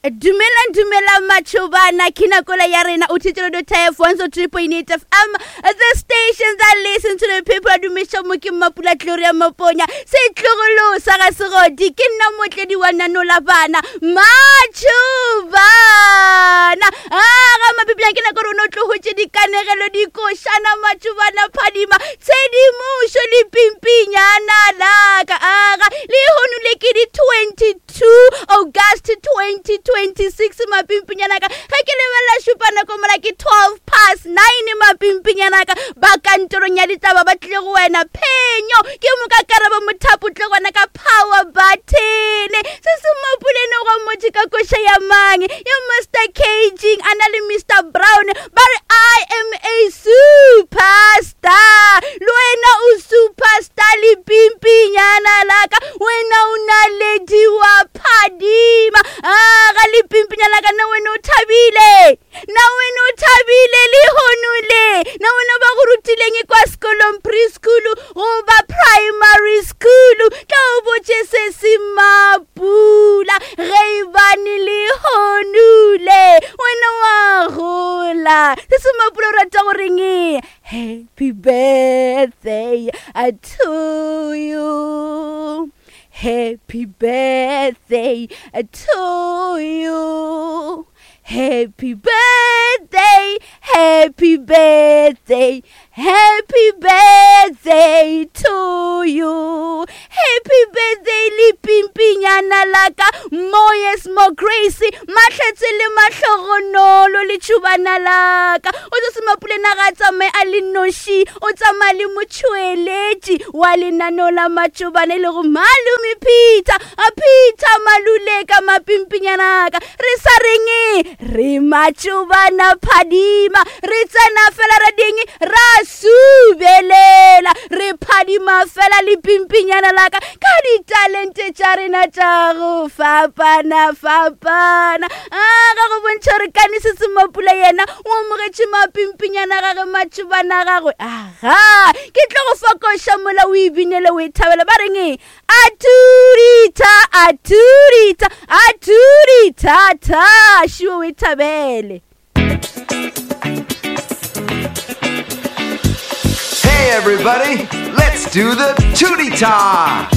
Dumelang dumelang matšhobana ke nakola ya rena o thetse radio tf 103.8 fm the station that listen to the people a dumiša mo ke mmapula gloria maponya setlogolo sa ga segodi ke nna motledi wa nanola bana matšhobana a ga mapipilang ke nako rona o tlogotše dikanegelo dikošana matšhobana phadima tshedimošo le pimpinyana laka aga lehono le ke di 22 August 2026 mapimpinyana ka ge ke lebelela šupa nako mola ke 12 past 9 mapimpinyana ka ba kantorong ya ditaba ba tlile go wena phenyo ke moka karabo mothapo tle gona ka power button se se mopulene go motho ka koša ya mang ya Mr Caging a na le Mr Brown ba re I am a superstar le wena o superstar le pimpinyana laka wena o naledi wa phadima a ga le pimpinyana laka na wena o thabile na wena o thabile lehono le na wena ba go rutileng kwa sekolong preschool goba primary school tla o botše se se mapula ge e bane lehono le wena wa gola se se mapula o rata goreng happy birthday to you happy birthday to you Happy birthday, happy birthday, happy birthday to you. Happy birthday le pimpinyana la ka Moyes mo Grace matlhatse le mahlogonolo le tšhubana la ka. O tlo se mapule na ga tsamaye a le noši, o tsamaya le motšhweletši wa lenaneo la matšobane le go Malome Peter. A Peter Maluleka mapimpinyana ka. Re sa reng re matšobana phadima re tsena fela ra ding ra subelela re phadima fela le pimpinyana laka ka ditalente tša rena tša go fapana fapana a ga go bontšha gore kane se se mapula yena o amogetše mapimpinyana gage matšobana gagwe aga ke tlo go fokoša mola o ebinele o e thabela ba reng Aturita, aturita, aturita, ta, šiwe o e thabele. Hey everybody, let's do the tootie ta!